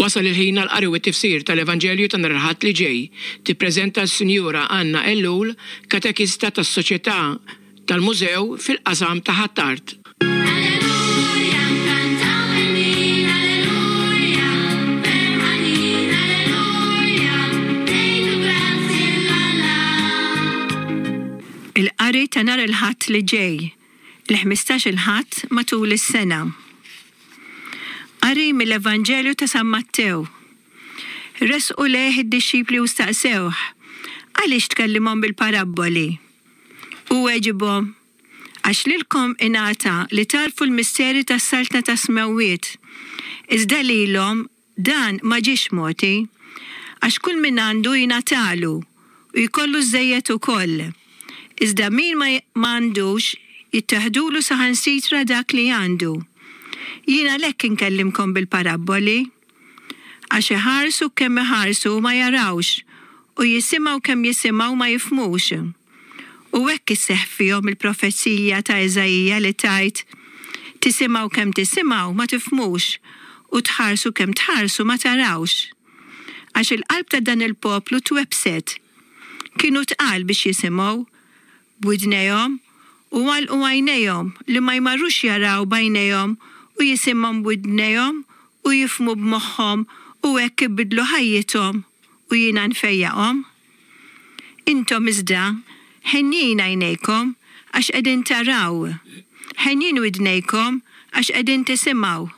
Wasal il-ħin għall-qari u t-tifsir tal-Evanġelju ta' nhar il-Ħadd li ġej. Tippreżenta s-Sinjura Anna Ellul, katekista tas-Soċjetà tal-Mużew fil-qasam ta' Ħ'Attard. Alleluja, nkantaw ħelwin, alleluja, ferħanin, alleluja, ngħidu grazzi 'l Alla. Il-qari ta' nhar il-Ħadd li ġej, il-ħmistax-il Ħadd matul is-sena. Qari mill-Evanġelju ta' San Mattew. Resqu lejh id-dixxipli u staqsewh, Għaliex tkellimhom bil-parabboli? Hu weġibhom, Għax lilkom ingħata li tagħrfu l-misteri tas-saltna tas-smewwiet, iżda lilhom dan ma ġiex mogħti. Għax kull min għandu jingħatalu, u jkollu żżejjed ukoll. Iżda min ma ma għandux, jitteħdulu saħansitra dak li għandu. Jien għalhekk inkellimkom bil-parabboli. Għax iħarsu kemm iħarsu u ma jarawx, u jisimgħu kemm jisimgħu ma jifhmux. U hekk isseħħ fihom il-profezija ta' Iżaija li tgħid, Tisimgħu kemm tisimgħu ma tifhmux, u tħarsu kemm tħarsu ma tarawx. Għax il-qalb ta' dan il-poplu twebbset. Kienu tqal biex jisimgħu b'widnejhom u għalqu għajnejhom li ma jmarrux jaraw b'għajnejhom u jisimgħu b'widnejhom u jifhmu b'moħħhom u hekk ibiddlu ħajjithom u jiena nfejjaqhom. Intom iżda, henjin għajnejkom għax qegħdin taraw, henjin widnejkom għax qegħdin tisimgħu.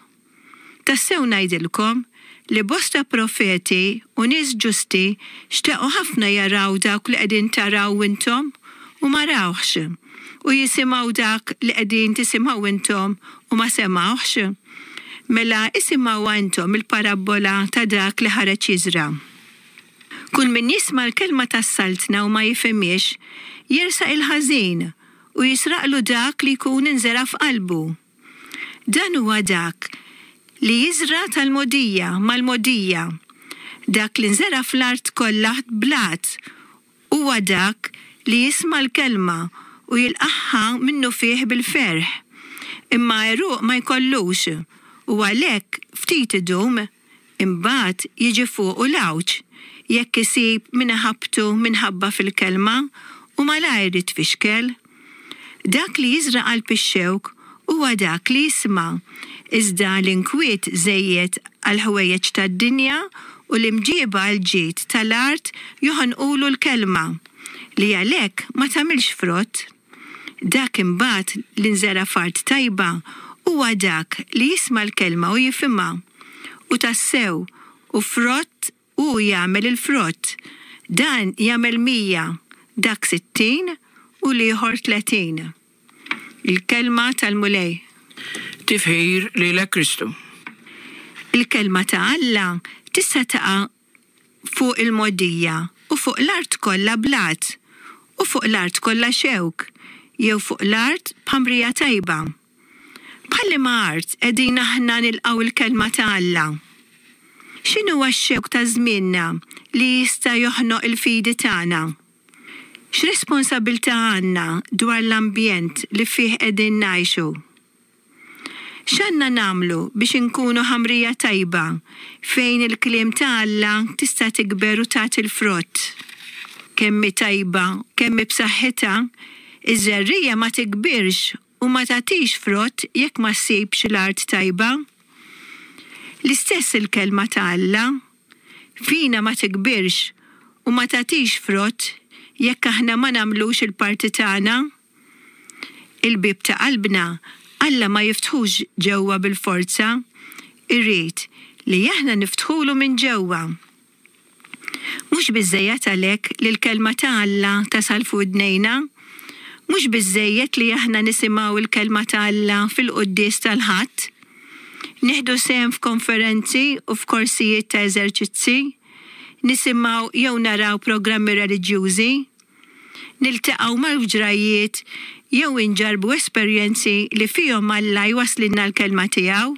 Tassew ngħidilkom li bosta profeti u nies ġusti xtaqu ħafna jaraw dawk li qegħdin taraw intom u ma rawhx, u jisimgħu dak li qegħdin tisimgħu intom u ma semgħuhx. Mela isimgħuha intom il-parabbola ta' dak li ħareġ jiżra'. Kull min jisma' l-kelma tas-Saltna u ma jifhimhiex, jersaq il-ħażin u jisraqlu dak li jkun inżera' f'qalbu. Dan huwa dak li jiżra' tal-mogħdija mal-mogħdija. Dak li nżera' fl-art kollha blat huwa dak li jisma' l-kelma u jilqagħha minnufih bil-ferħ. Imma għeruq ma jkollux, u għalhekk ftit idum. Imbagħad jiġi fuqu l-għawġ, jekk isib min iħabbtu minħabba fil-kelma, u malajr jitfixkel. Dak li jiżra' qalb ix-xewk huwa dak li jisma', iżda l-inkwiet żejjed għall-ħwejjeġ tad-dinja u l-imġieba għall-ġid tal-art joħonqulu l-kelma, li għalhekk ma tagħmilx frott. Dak imbagħad li nżera' f'art tajba huwa dak li jisma' l-kelma u jifhimha, u tassew u frott hu jagħmel il-frott, dan jagħmel 100, dak 60 u l-ieħor 30. Il-Kelma tal-Mulej. Tifħir lilek Kristu. Il-Kelma ta' Alla tista' taqa' fuq il-mogħdija u fuq l-art kollha blat, u fuq l-art kollha xewk, jew fuq l-art b'ħamrija tajba. Bħal liema art qegħdin aħna nilqgħu l-Kelma ta' Alla? X'inhuwa x-xewk ta' żmienna li jista' joħnoq il-fidi tagħna? X'responsabbiltà għandna dwar l-ambjent li fih qegħdin ngħixu? X'għandna nagħmlu biex inkunu ħamrija tajba fejn il-kliem ta' Alla tista' tikber u tagħti l-frott? Kemm hi tajba, kemm hi b'saħħitha, iż-żerriegħa ma tikbirx u ma tagħtix frott jekk ma ssibx l-art tajba. L-istess il-kelma ta' Alla, fina ma tikbirx u ma tagħtix frott jekk aħna ma nagħmlux il-parti tagħna. Il-bieb ta' qalbna Alla ma jiftħux ġewwa bil-forza, irid li aħna niftħulu minn ġewwa. Mhux biżżejjed għalhekk li l-Kelma ta' Alla tasal f'widnejna? Mhux biżżejjed li aħna nisimgħu l-Kelma ta' Alla fil-quddies tal-Ħadd? Nieħdu sehem f'konferenzi u f'korsijiet ta' eżerċizzi? Nisimgħu jew naraw programmi reliġjużi? Niltaqgħu ma' ġrajjiet jew inġarrbu esperjenzi li fihom Alla jwasslilna l-Kelma tiegħu?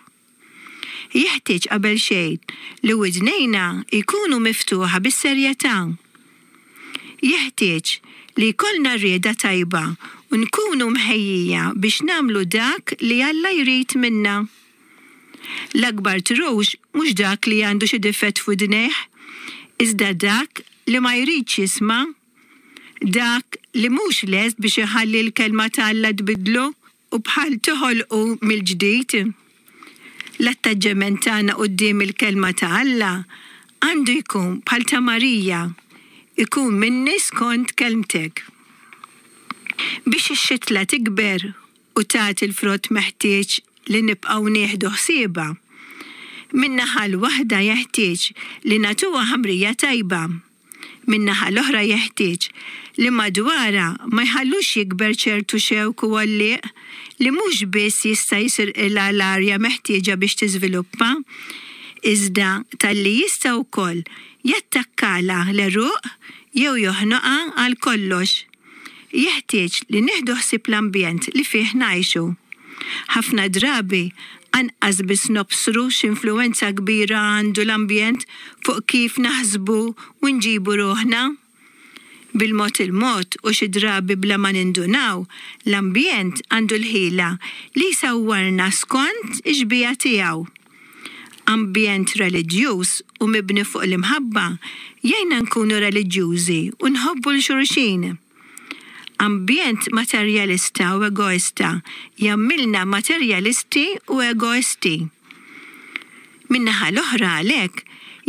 Jeħtieġ qabel xejn li widnejna jkunu miftuħa bis-serjetà. Jeħtieġ li jkollna rieda tajba u nkunu mħejjija biex nagħmlu dak li Alla jrid minna. L-akbar trux mhux dak li għandu xi difett f'widnejh, iżda dak li ma jridx jisma', dak li mhux lest biex iħalli l-Kelma ta' Alla tbiddlu u bħal toħolqu mill-ġdid. L-attaġġement tagħna quddiem il-Kelma ta' Alla għandu jkun bħal ta' Marija, Ikun minni skont kelmtek. Biex ix-xitla tikber u tagħti l-frott meħtieġ li nibqgħu nieħdu ħsiebha. Min-naħa l-waħda jeħtieġ li nagħtuha ħamrija tajba. Min-naħa l-oħra jeħtieġ li madwarha ma jħallux jikber ċertu xewk u għollieq li mhux biss jista' jisirqilha l-arja meħtieġa biex tiżviluppa, iżda talli jista' wkoll jattakkalha l-għeruq jew joħnoqha għal kollox. Jeħtieġ li nieħdu ħsieb l-ambjent li fih ngħixu. Ħafna drabi anqas biss nobsru x'influwenza kbira għandu l-ambjent fuq kif naħsbu u nġibu ruħna. Bil-mod il-mod u xi drabi bla ma nindunaw, l-ambjent għandu l-ħila li jsawwarna skont ix-xbieha tiegħu. Ambjent reliġjuż u mibni fuq l-imħabba jgħinna nkunu reliġjużi u nħobbu 'l xulxin. Ambjent materjalista u egoista jagħmilna materjalisti u egoisti. Min-naħa l-oħra għalhekk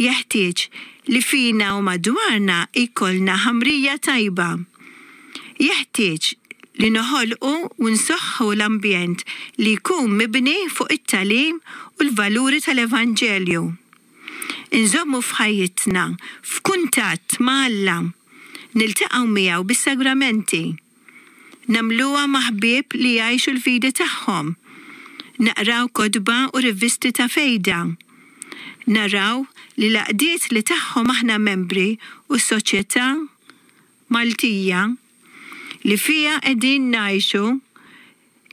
jeħtieġ li fina u madwarna jkollna ħamrija tajba. Jeħtieġ li noħolqu u nsoħħu l-ambjent li jkun mibni fuq it-tagħlim u l-valuri tal-Evanġelju. Inżommu f'ħajjitna f'kuntatt ma' Alla, niltaqgħu miegħu bis-sagramenti. Nagħmluha ma' ħbieb li jgħixu l-fidi tagħhom. Naqraw kotba u rivisti ta' fejda. Naraw li l-għaqdiet li tagħhom aħna membri u s-soċjetà Maltija li fiha qegħdin ngħixu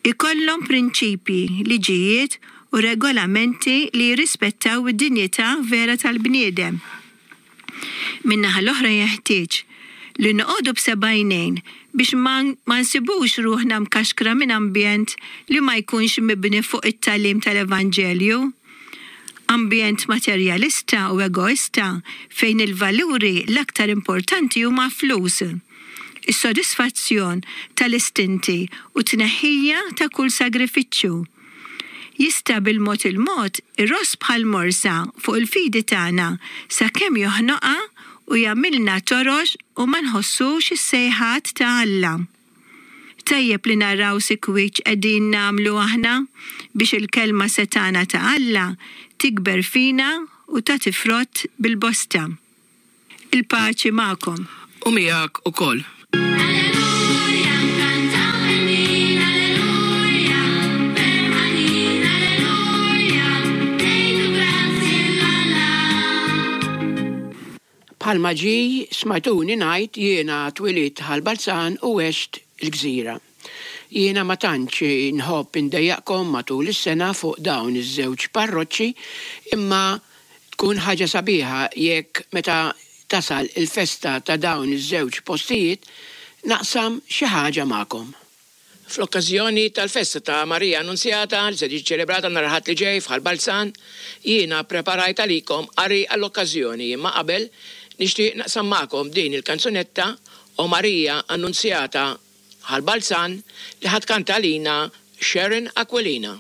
ikollhom prinċipji, liġijiet u regolamenti li jirrispettaw id-dinjità vera tal-bniedem. Min-naħa l-oħra jeħtieġ li noqogħdu b'seba' għajnejn biex ma ma nsibux ruħna mkaxkra minn ambjent li ma jkunx mibni fuq it-tagħlim tal-Evanġelju. Ambjent materjalista u egoista fejn il-valuri l-aktar importanti huma flus, is-sodisfazzjon tal-istinti u t-tneħħija ta' kull sagrifiċċju. Jista' bil-mod il-mod iross bħal morsa fuq il-fidi tagħna sakemm joħnoqha u jagħmilna torox u ma nħossux is-sejħat ta' Alla. Tajjeb li naraw sikwit x'qegħdin nagħmlu aħna biex il-Kelma setgħana ta' Alla tikber fina u tagħti frott bil-bosta. Il-paċi magħkom. U miegħek ukoll. Alleluja, nkantaw ħelwin, alleluja, ferħanin, alleluja, ngħidu grazzi 'l Alla. Bħalma ġie smajtuni ngħid jiena twilidt Ħal Balzan u għext il-Gżira. Jiena ma tantx inħobb indejjaqkom matul is-sena fuq dawn iż-żewġ parroċċi imma tkun ħaġa sabiħa jekk meta tasal il-festa ta' dawn iż-żewġ postijiet naqsam xi ħaġa magħkom. Fl-okkażjoni tal-festa ta' Marija Annunzjata li se tiġi ċċelebrata nhar il-Ħadd li ġej f'Ħal Balzan, jiena ppreparajt għalikom qari għall-okkażjoni imma qabel nixtieq naqsam magħkom din il-kanzunetta O Marija Annunzjata Ħal Balzan li ħa tkanta għalina Sharon Aquilina.